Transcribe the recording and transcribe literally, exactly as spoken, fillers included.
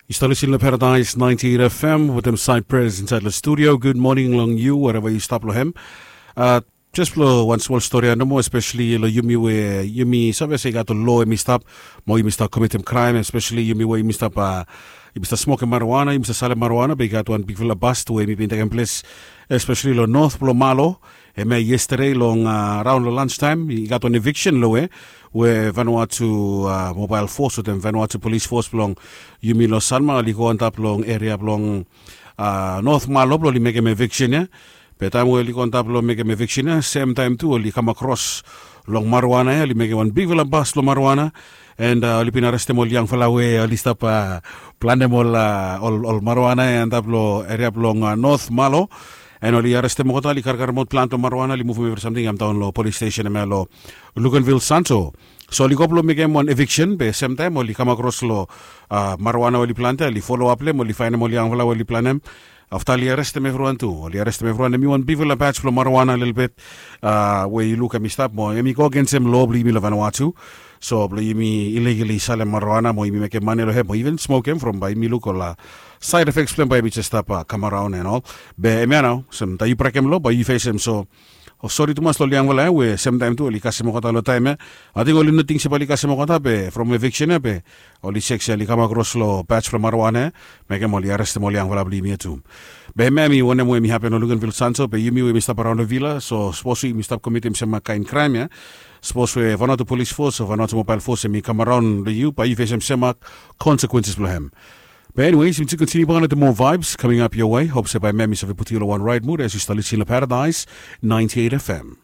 Yu stap lisin long Paradise ninety-eight F M wetem Cypress inside long studio. Good morning long yu wherever yu stap long hem. Uh, Just blong wan smol stori ya nomo, especially long yumi we yumi save se i gat ol lo em i stap mo yumi stap komitim kraem, especially yumi we yumi stap uh, yumi stap smokim marijuana, yumi stap salim marijuana, be i gat wan bigfala bast we yumi bin tekem ples, especially long north blong Malo. Hemia yesterday long uh, raun long lunch time i gat wan eviction lo we we Vanuatu uh, mobile force wetem Vanuatu police force blong yumi long Sanma oli go antap long area blong uh, North Malo blong oli mekem eviction ya. Be taem we oli go antap long mekem eviction ya, sem taem tu oli kam akros long marijuana ya, oli mekem wan bigfala bas long marijuana. And uh, oli bin arestem ol yangfala we oli stap uh, planem ol, uh, ol, ol marijuana ya antap long area blong uh, North Malo. And oli arestem olgeta, oli karkarem aot plante long marijuana, oli muvum evri samting i kam daon long polis stesen hemia long Luganville Santo. So oli go blong mekem wan eviction be sem taem oli kam akros long uh, marijuana we oli plante, oli foloap long hem, oli faenem ol yangfala we oli planem. Afta oli arestem evriwan tu, oli arestem evriwan. Hem i wan bigfala baj blong marijuana lelebet uh, we yu luk hem i stap mo hem i go agensem lo blong yumi long Vanuatu. So blong yumi ilegali salem marijuana mo yumi mekem mane long hem mo iven smokem from bae yumi luk ol uh, side effects blong hem bae yumi jes stap uh, kam araon and ol. Be hemia nao olsem taem yu brekem lo bae yu fesem. So o sori tumas long ol yangfala ya we sem taem tu oli kasem olgeta long taem ya. Ating oli no ting se bae oli kasem olgeta be from eviction ya be oli sek se oli kam akros long baj blong marijuana ya. Mekem oli arestem ol yangfala blong yumi ya tu. Be hemia hem i wanem we hem i hapen long Luganville Santo, be yumi we yumi stap araon long vila, so sapos we yumi stap komitim sem kaen kraem ya, sapos we Vanuatu police force o Vanuatu mobile force hem i kam araon long yu, bae yu fesem sem konsekuenses blong hem. Be anyways, yumi tu kontiniu bak long the more vibes coming up your way. Hop se bae hem i save putum yu long wan raet mud as yu stap lisin long Paradise ninety-eight F M.